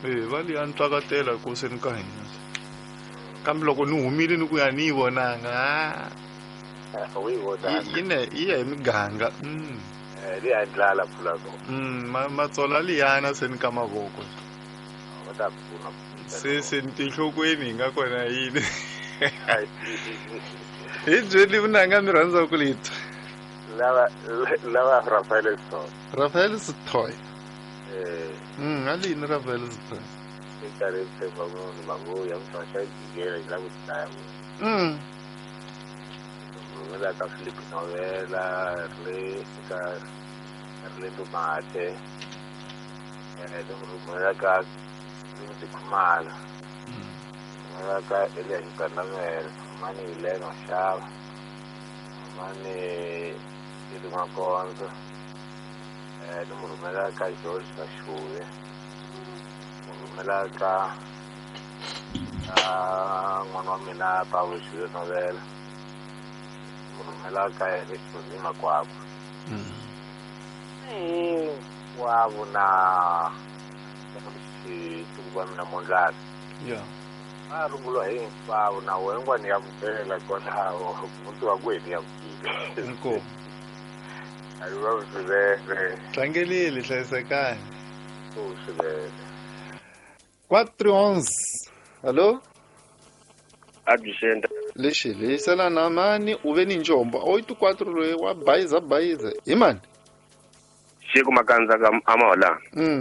E va liya ntswakatela koseni ka hina kambe loko ni humile ni ku ya ni yi vonanga. U yi vonanga. Yi ne yi ya hi miganga. Liya ndlala pfula ko. Matsola liyana se ni ka mavoko. Va ta pfuna. Se tinhlokweni hi nga kona yini. Hi byeli vunanga mi rhandza ku litwa. Lava Rafael Sithole. Rafael Sithole. Alini Rafael Sithole. Nkarhi tshemba munhu manguya mfasha jikela yi lava ku dlaya munhu. Rhumela ka Philip Novela ri ka Rilendo Mate. Ni rhumela ka Rimzi Khumalo. Rhumela ka Elias Gandamela, Mani Helena Xava. Mani Eli Makonzo. Ni mu rhumela ka George Kashuve. Rhumela ka n'wana wa mina Pawulo Xile Novela. Rhumela ka Erickson Makwakwa. Hinkwavo na xituku mina Mondlana. Va rungula hinkwavo na wena ya mukela kwalaho muti wa kwenu ya mukile. Inkomu. A yi va swinene. Tlangelile hlayisekani. Swinene. 4:11. Allo? Absent. Lexi leyisela na mani u ve ni njombo. 84 loyi wa bayiza bayiza. Hi mani? Xiku Makanza ka Amola.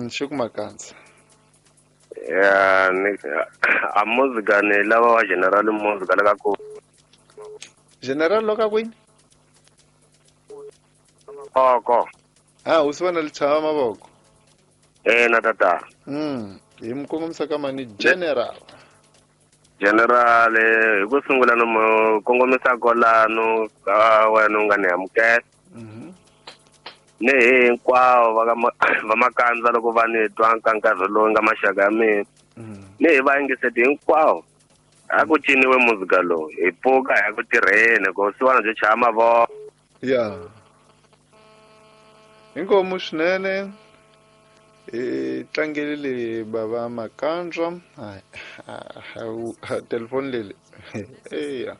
Xiku Makanza. Ya ni a muzika ni lava wa General Muzika la ka ku. General loka kwini? Oko. U swi vona lichava mavoko. Na tata. Hi mu kongomisa ka mani General. General hi ku sungula no mu kongomisa kwalano ka wena u nga ni amukela. Ni hinkwavo va Makanza loko va ni twa ka nkarhi lowu nga maxaka ya mina. Ni hi va yingiseti hinkwavo. A ku ciniwe muzika lowu hi pfuka hi ya ku tirheni ku siwana byo chaya mavoko. Ya. Inkomu swinene. Tlangelile bava Makanza. Telefoni leli. Eya.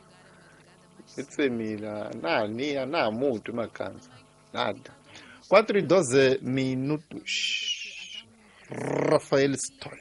I tsemile na ni na mutu Makanza. Nada. 4:12 minutos. Rafael Stoy.